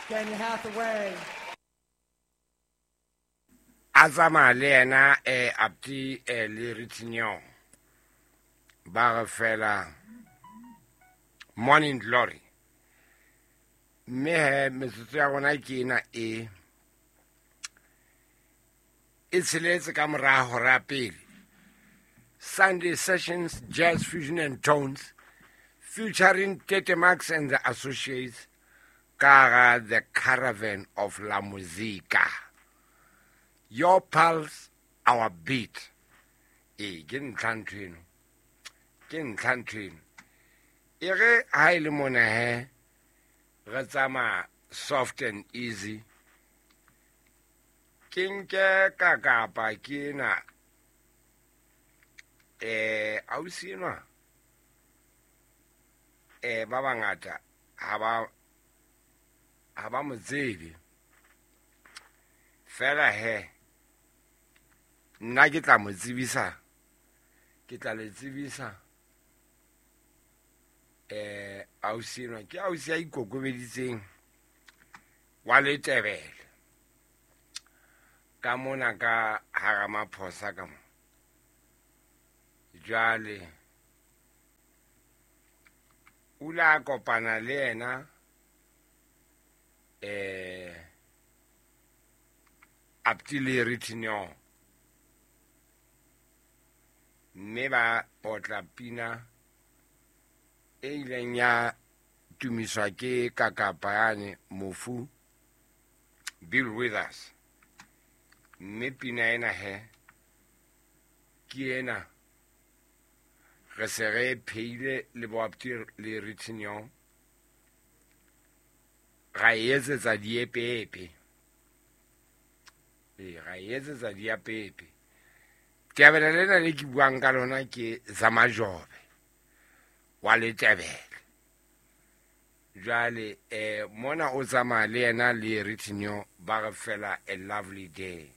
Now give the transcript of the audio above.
Daniel Hathaway. A tsamaya le yena Apti le Ritinyo ba re fela Morning Glory. Mme he metsotso ya rona ke ena e e tsheletse ka mora hora ya pele. Sunday Sessions, Jazz Fusion and Tones, featuring Tete Max and the Associates, ka hara The Caravan of La Musica. Your pulse, our beat. Ee, ke ntlha ntho eno. Ke ntlha ntho eno. E re ha e le mona he, re tsamaya soft and easy. Ke nke ka kapa ke ena, ausi enwa, ba bangata ha ba mo tsebe. Fela he, nna ke tla mo tsebisa, ke tla le tsebisa, ausi enwa, ke ausi ya ikokobeditseng wa Letebele. Ka mona ka hara Maphosa ka mo. Jwale, o ile a kopana le yena, Apti le Ritinyo. Mme ba otla pina e ileng ya tumiswa ke kakapa yane mofu Bill Withers. Mme pina ena he, ke ena re se re pheile le bo Apti le Ritinyo, ra e etsetsa diepeepe. Ee, ra e etsetsa diepeepe. Tebele lena le ke buang ka lona ke Zamajobe wa Letebele. Jwale, mona o tsamaya le yena le Ritinyo ba re fela a lovely day.